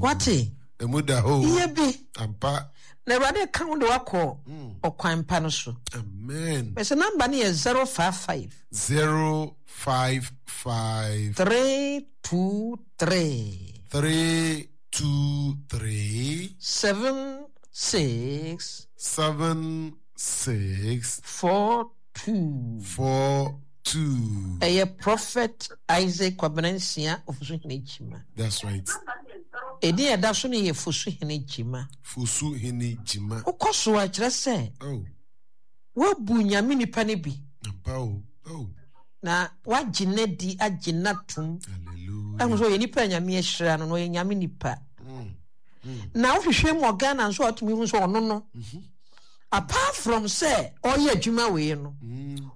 Wate? Emu da hɔ. Yɛ bi. Ampa. Na Awurade ka wo de wakɔ mm. ɔkwan pa no so. Amen. Mɛsɛ namba no yɛ 055. 055. 323. 323. 76. 76. 42. 42. Ɛyɛ Prophet Isaac Kwabena Nsia Ofosuhene Gyima. That's right. Edin a ɛda so no yɛ Fosuhene Gyima. Fosuhene Gyima. Wokɔ so a kyerɛ sɛ. Oh. Woabu Nyame nipa no bi. Ampa o. Oh. Na wagye n'adi agye n'atom. Hallelujah. Ɛho sɛ ɔyɛ nipa a Nyame ahyira no na ɔyɛ Nyame nipa. Mm. Mm. Na wohwehwɛ mu wɔ Ghana nso a wotumi hu sɛ ɔno no. Mm -hmm. Apart from sɛ ɔyɛ adwuma wei no,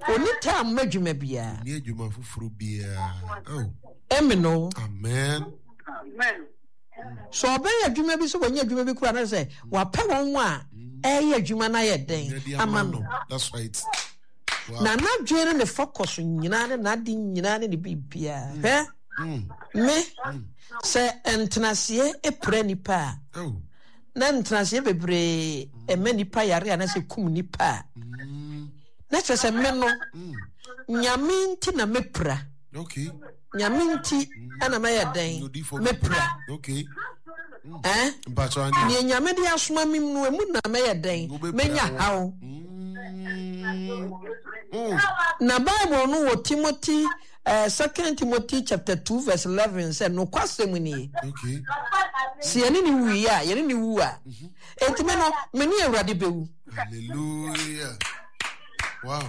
ɔnni time ma adwuma biara. Ɔnni adwuma foforɔ biara. Oh. Amen o. Amen. Amen. So ɔbɛyɛ adwuma bi sɛ wɔnyɛ adwuma bi kura na sɛ wapɛ wɔn a ɛyɛ adwuma no ayɛ dɛn ama no. That's right. Wow. Na n'adwene ne ne focus nyinaa ne n'ade nyinaa ne ne biribiara. Mm. Hwɛ mm. me mm. sɛ ntenaseɛ pira nipa a. Oh. Na ntenaseɛ bebree ɛma nipa yare anaasɛ kum nipa a, na kyerɛ sɛ me no, Nyame nti na mɛpira. Nyame nti ɛna mɛyɛ dɛn mɛpira. Eh? Neɛ Nyame de asoma me mu no, emu na mɛyɛ dɛn mɛnya haw. Na Bible no wɔ Timothy Second Timothy chapter 2 verse 11 sɛ nokwasɛm nie. Sɛ yɛne ne wui a, yɛne ne wu a, mhm. enti me no, me ne Awurade bɛwu. Hallelujah. Wow.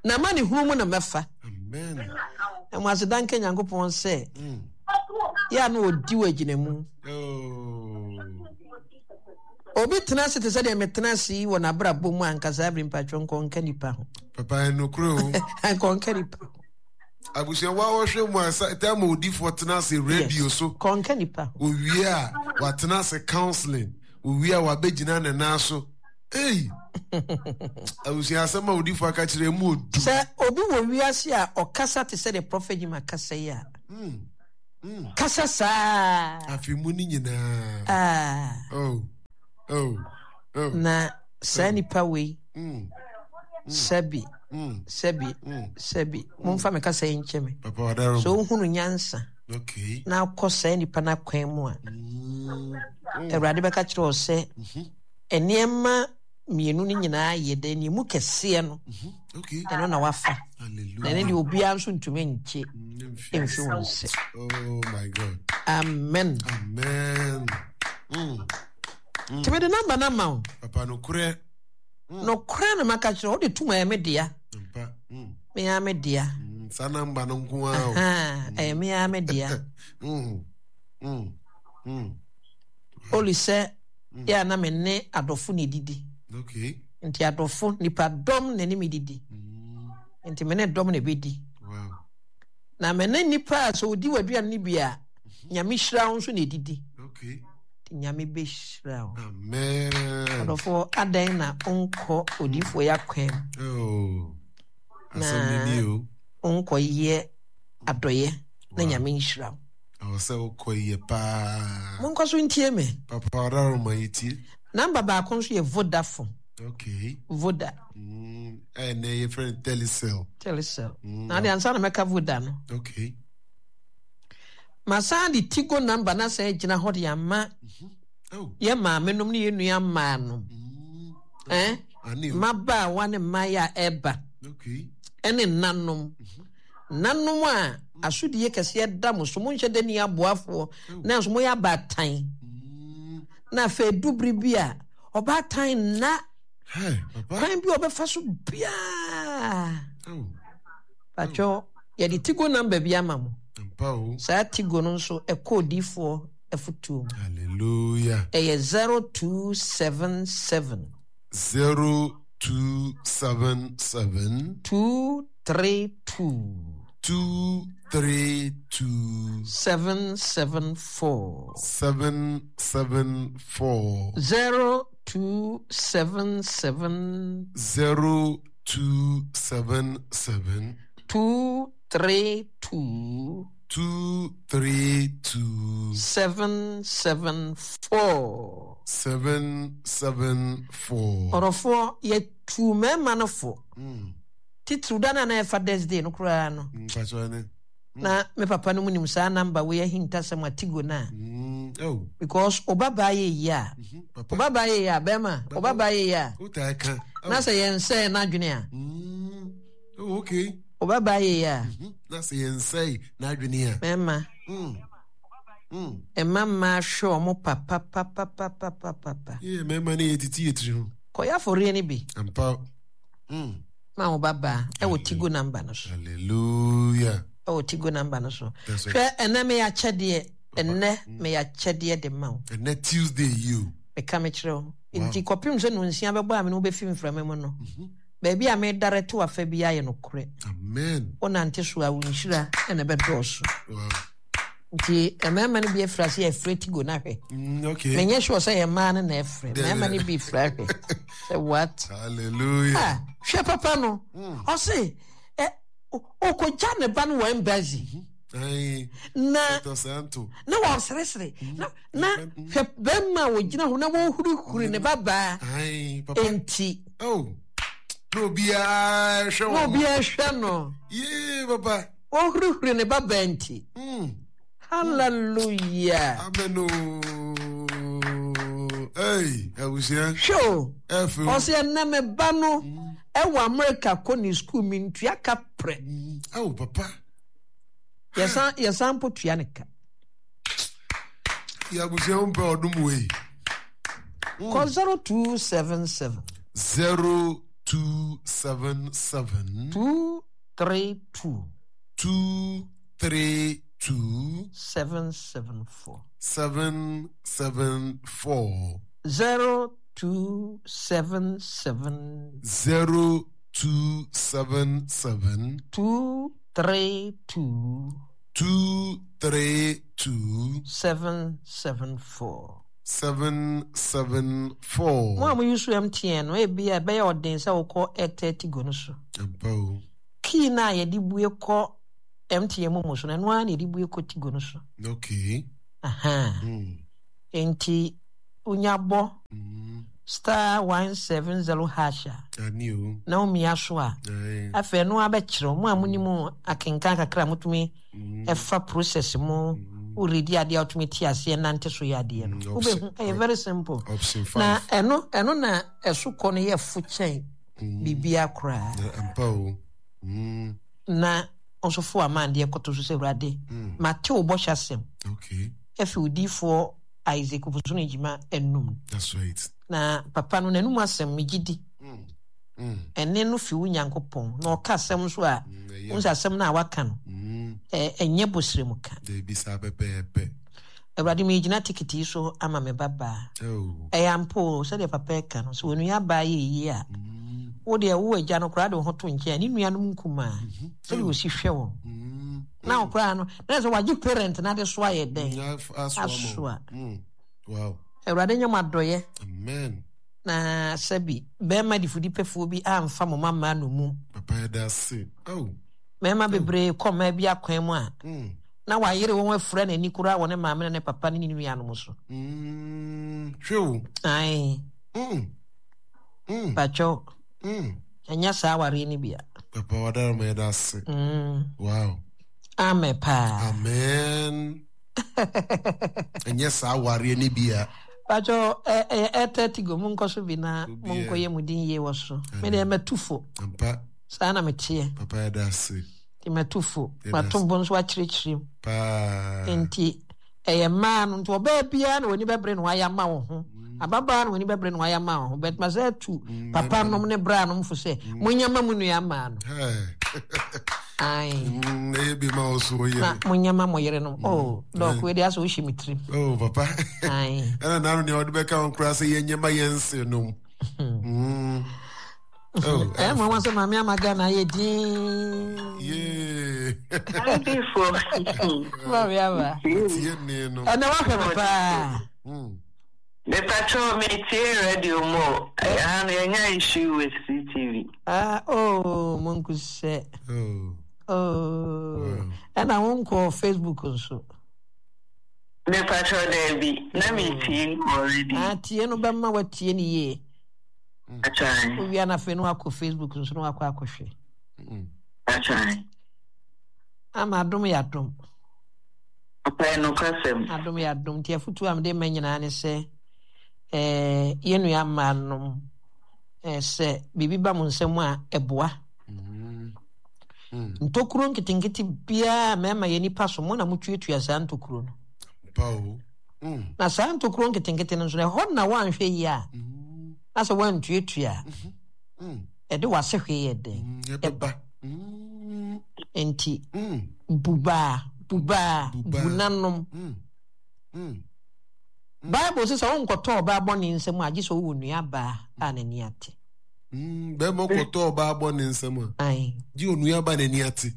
Na ma ne hunu mu na mɛfa. Amen. Na mo aseda nka Nyankopɔn sɛ mm. yɛ a na ɔdi wɔ agyina mu. Oh. Obi tena ase te sɛ deɛ metena ase yi wɔ n'abrabɔ mu anka saa bere mpatwɔ nkɔnka nipa ho. Papa ɛnokorɛ o. Nkɔnka nipa ho. Abusua wa wɔhwɛ mu a sɛ ma odifoɔ tena ase radio so. Kɔnka nipa ho. Owie a watena ase counseling. Owie a wabɛgyina ne nan so. Ei! Abusua asɛm a odifoɔ aka kyerɛ mu odu. Sɛ obi wɔ wiase a ɔkasa te sɛ deɛ Prophet Jim akasa yi a. Mm. Mm. Kasa saa. Afe mu no nyinaa. Ah. Oh. Oh. Oh. Na saa oh. nipa wei. Mm. Sɛbi. Mm. Sɛbi. Sɛbi. Momfa me kasa yi nkyɛ me. Papa wadaro. So wohunu nyansa. Okay. Na akɔ saa nipa no akwan mu a. Mm. Awurade bɛka kyerɛ wo sɛ mm-hmm. nneɛma mmienu no nyinaa yɛ dɛ nea emu kɛseɛ no mm-hmm. ɛno na wafa na ɛno deɛ obiara nso ntumi nkye mfi wɔn nsam. Oh my God. Amen. Amen. Mm. Mm. Tìmí de namba na ma o. Papa nokorɛ. Mm. Nokorɛ na maka kyerɛ o de tum ɛyɛ me dea. Mpa. Mm. Me ya me dea. Mm. Saa namba no nko ara o. Ɛyɛ me ya me dea. Mm. Mm. Mm. Oli sɛ yɛ a na me ne adɔfo na edidi. Okay. Nti adɔfo, nipa dɔm na ɛne me didi. Mm. Nti me ne dɔm na ebedi. Wow. Na me ne nipa a sɛ odi w'aduane no bi a, mhm. Nyame hyira wo nso na edidi. Okay. Nti Nyame bɛhyira wo. Amen. Adɔfo, adɛn na wonkɔ odiyifoɔ yi akwan mu? Oh. Na wonkɔyɛ adɔyɛ na Nyame nhyira wo. Ɛwɔ sɛ wokɔ yie paa. Monkɔ so ntie me. Papa Ɔdaroma yi tie. Number baako nso yɛ Vodafone. Okay. Voda. Mm, ɛnɛ yɛfrɛ no Telecel. Telecel. Mm. Na de ansa na mɛka Voda no. Okay. Masan de Tigo number na sɛ gyina hɔ de ama mm-hmm. oh. yɛ maame nom ne yɛ nua mmaa nom. Mm. Eh? Mmabaawa ne mmaayɛ a ɛba. Okay. Ɛne nnanom. Mm-hmm. Nanom a asodie kɛseɛ da mo so, monhyɛ da nni aboafoɔ, nanso moyɛ abaatan. Na afei edu bere bi a, ɔbaatan nna kwan bi a ɔbɛfa so biara. Patwɔ, yɛde tigo namba bi ama mo. Saa tigo no nso ɛkɔ odiifoɔ afotuo mu. Hallelujah. Ɛyɛ 0277. 0277. 2 32. 232. 774. 774. 0277. 0277. 232. 232. 774. 774. Ɔdɔfoɔ, yɛtuu mmarima no fo. Titiriw da no a na ɛyɛ Father's Day no koraa no. Mpakyɛw ne. Na me papa no mu nim saa number wei ahintasɛm atigo no a. Oh. Because ɔba baa yɛ yie a. Papa. Ɔba baa yɛ yie a bɛrima. Ɔba baa yɛ yie a. Wotaa ka. Na sɛ yɛn sɛɛ n'adwene a. Oh, okay. Ɔba baa yɛ yie a. Na sɛ yɛn sɛɛ n'adwene a. Mɛma. Mma mmaa hwɛ wɔn papapapapapapa. Yɛ mmarima no yɛ titi yɛ tiri ho. Kɔyɛ afɔreɛ no bi. Ampa. Ma wo ba baa ɛwɔ Tigo number no so. Hallelujah. Ɛwɔ Tigo number no so. Hwɛ ɛnɛ meyɛ akyɛdeɛ. Ɛnɛ meyɛ akyɛdeɛ de ma wo. Ɛnɛ Tuesday yi o. Meka mekyerɛ wo. Nti kɔpem sɛ nonsia bɛbɔ a me ne wo bɛfi mframa mu no. Baabi a meredare to afa biara yɛ nokorɛ. Amen. Wonante so a wo nhyira na ɛbɛdɔɔso. Wow. Nti mmarima no bi afiri ase ɛfrɛ tigo no ahwɛ. Okay. Menyɛ sure sɛ yɛ mmaa no na ɛfrɛ. Mmarima no bi frɛ ahwɛ. Sɛ what? Hallelujah. Ah, hwɛ papa no. Ɔse ɛ ɔkɔgya ne ba no wɔ embassy. Na na wɔseresere na na hwɛ bɛrima a wɔgyina hɔ na wɔhurihuri ne ba baa. Enti. Oh. Na obiara hwɛ wɔn. Na obiara hwɛ no. Yee papa. Ɔhurihuri ne babaa nti. Hallelujah. Amen o. Hey, abusua. Hwɛ o. Ɔsɛ ɛnɛ me ba no ɛwɔ America kɔ ne school mi ntua ka prɛ. Awo papa. Yɛsan yɛsan mpo tua ne ka. Yɛ abusua ho mpɛ ɔdom wei. Kɔ 0277. 0277. 232. 232. 774. 774. 0277. 0277. 232. 232. 774. 774. Mo a mo use MTN no, ebia ɛbɛyɛ ɔden sɛ wokɔ Airtel Tigo no so. Ampa o. Key no a yɛde bue kɔ MTN momo so no, ɛno ara na yɛde bue kɔ Tigo no so. Okay. Aha. Enti wonya bɔ star 170 hash a, Ani o. na womia so a, Aye. afei ɛno ara bɛkyerɛ wo. Mo a monim akenkan kakra a motumi ɛfa process mu, woredi adeɛ a wotumi te aseɛ nante so yɛ adeɛ no. Wobɛhu, ɛyɛ very simple. Option Na 5. ɛno, ɛno na ɛso kɔ no yɛ fo kyɛn biribiara koraa. Na ampa o. Na nso fo ama adeɛ kɔto so sɛ Awurade, mate wo bɔhyɛ asɛm. Okay. Afi wo diyifoɔ Isaac Ofosu Gyima anum. That's right. Na papa no n'anum asɛm megye di. Ɛne no fi wo Nyankopɔn. Na ɔka asɛm nso a, wohu sɛ asɛm no a waka no, ɛnyɛ bosrem ka. Dabi saa pɛpɛɛpɛ. Awurade megyina tikiti yi so ama me ba baa. Oh. Ɛyɛ ampa o, sɛdeɛ papa ɛka no, sɛ onua baa yɛ yie a, wo deɛ wo agya no koraa de wo ho to nkyɛn a, ne nuanom nkumaa, sɛdeɛ ɔsi hwɛ wɔn. Na wo koraa no, na sɛ wagye parent no ade so ayɛ dɛn? Asoa. Asoa. Wow. Awurade nyɛ mo adɔeɛ. Amen. Na sɛbi bɛrima difudipɛfoɔ bi amfa mo mma mmaa nnommum. Papa yɛda ase. Oh. Mmarima bebree kɔ mmaa bi akwan mu a, na wayere wɔn afura n'ani koraa wɔ ne maame ne ne papa ne ne nuanom so. Hwɛ o. Ae. Pakyɛw. Ɛnyɛ saa awareɛ no bia. Papa wadara ma yɛda ase. Wow. Amen paa. Amen. Ɛnyɛ saa awareɛ no bia. Pakyɛw ɛyɛ Airtel Tigo monkɔ so bi na monkɔ yɛ mo din yie wɔ so. Me deɛ matu fo. Ampa. Saa na meteɛ. Papa yɛda ase. Nti matu fo. Mato bo nso akyerɛkyerɛ mu. Paa. Nti ɛyɛ mmaa no nti ɔbaa biara na w'ani bɛbere na wayɛ ama wo ho. Ababaa na w'ani bɛbere na wayɛ ama wo ho. But masa atu papa nom ne bra nom fo sɛ monyɛ ma mo nua mmaa no. Ae. Ɛyɛ bi ma wo so wo yere. Na monyɛ ma mo yere nom. Oh, dɔk wei de asɛ wohyɛ me tirim. Oh, papa. Ae. Ɛna nano nea wɔde bɛka ho koraa sɛ yɛnyɛ ma yɛn nse nom. Ɛyɛ mmoawa sɛ maame ama Ghana ayɛ din. Yee. Adifo. Maame ama. Tie ne no. Ɛnna wahwɛ me paa. Mepatro metie radio mu o. Ɛha no yɛnya issue with CTV. Ah, oh, monkusɛ. Oh. Oh. Ɛna wonkɔ Facebook nso. Mepakyɛw daabi, na metie already. Ah, tie no bɛma watie no yie. Atwan. Wowia no afei na wakɔ Facebook nso na wakɔ akɔhwɛ. Atwan. Ama adom yɛ adom. Ɔpɛ nokwasɛm. Adom yɛ adom. Nti afotuo a mede ma nyinaa ne sɛ eh, yɛn nua mmaa nom eh, sɛ biribi ba mo nsam a ɛboa. Mm. Mm. Ntokuro nketenkete biara mmarima yɛ nipa so mo na motuatua saa ntokuro no. Pa o. Mm. Na saa ntokuro nketenkete no nso no ɛhɔ na woanhwɛ yie a mm. na sɛ woantuatua a mm-hmm. mm. ɛde w'ase hwee yɛ dɛn ɛbɛba. Nti bubaa bubaa bunanom. Bible sɛ sɛ wonkɔtɔ ɔbaa bɔne nsam a gye sɛ wowɔ nuabaa a n'ani ate. Bɛrima kɔtɔ ɔbaa bɔ ne nsam a gye onua ba n'ani ate.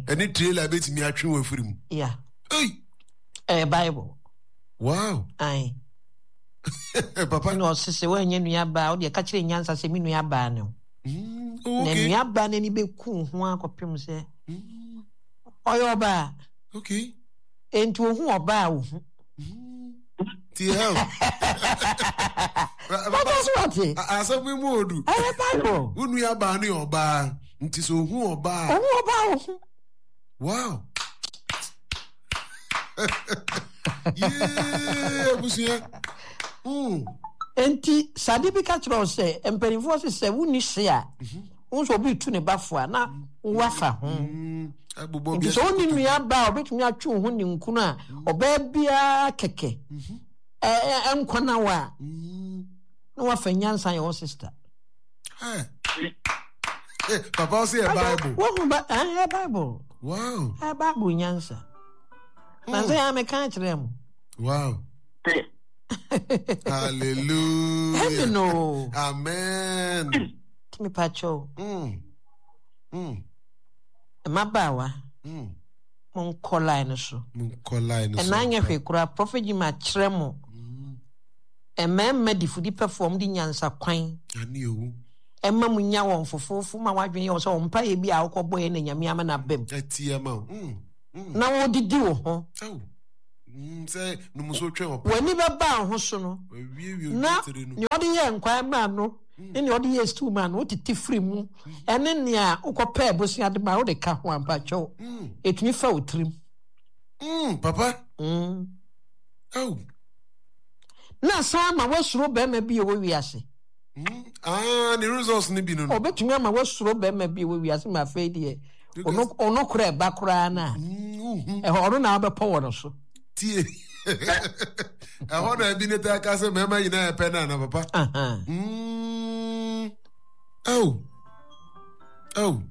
Ɛne trailer bɛtumi atwe wɔ afiri mu. Yeah. Ɛyɛ Bible. Wow. Aye. Papa. Na ɔse sɛ woanyɛ nuabaa wodeɛ ka kyerɛ nyansa sɛ me nuabaa ne wo. Oh, Na nuabaa n'ani bɛku ho akɔpem sɛ ɔyɛ ɔbaa. Okay. Enti ohu ɔbaa ohu. Ti hell. Papa so wate. Asɛm yi mu odu. Ɛyɛ Bible. Wo nuabaa ne ɔbaa nti sɛ ohu ɔbaa. Ohu ɔbaa ohu. Wow. Yee abusua. Mm. Enti sade bi ka kyerɛ wo sɛ mpanimfoɔ se sɛ wonni se a wo nso obi tu ne ba fo a na woafa ho. Mm. Nti sɛ wonni nua ba a obetumi atwe wo ho ninkunu a ɔbaa biara kɛkɛ ɛnkɔ na wo a na wafa nyansa yɛ wo sista. Papa ɔsɛ yɛ Bible. Wohu ba ɛyɛ Bible. Wow. Ɛyɛ Bible nyansa. Na sɛ yɛ meka kyerɛ mo. Wow. Hallelujah. Heaven o. Amen. Tumi pa kyɛw. Mm. Mm. Mmabaawa. Mm. Monkɔ line no so. Monkɔ line no so. Ɛna anyɛ hwee koraa Prophet Jim akyerɛ mo. Mmarima difudipɛfoɔ wɔn de nyansa kwan. Ane owu. Ɛma mo nya wɔn fofoofo ma wadwene yɛ wɔ sɛ wɔn mpaeɛ bi a wokɔ bɔ yɛ na Nyame ama no abam. Ɛteɛ ma wo. Mm. Mm. Na wɔdidi wo ho. Aw. Mm, sɛ numuso twɛn ɔpɛ. W'ani bɛba wo ho so no. Na nea ɔde yɛɛ nkwan maa no ne nea ɔde yɛɛ stew maa no wotete firi mu ɛne nea wokɔpɛɛ bosea de maa wode ka ho ampa kyɛw. Ɛtumi fa wo tirim. Papa. Aw. Na san ama woasuro barima bi a ɛwɔ wiase. Ah, ne results no bi no no. Ɔbɛtumi ama woasuro barima bi a ɛwɔ wiase ma afei deɛ ɔno kora ɛba koraa no a ɛhɔ ɔno na wobɛpɔ wɔ no so. Tie. Ɛhɔ na ebi ne taa ka sɛ mmarima nyinaa yɛ pɛ no ana papa. Oh. Oh.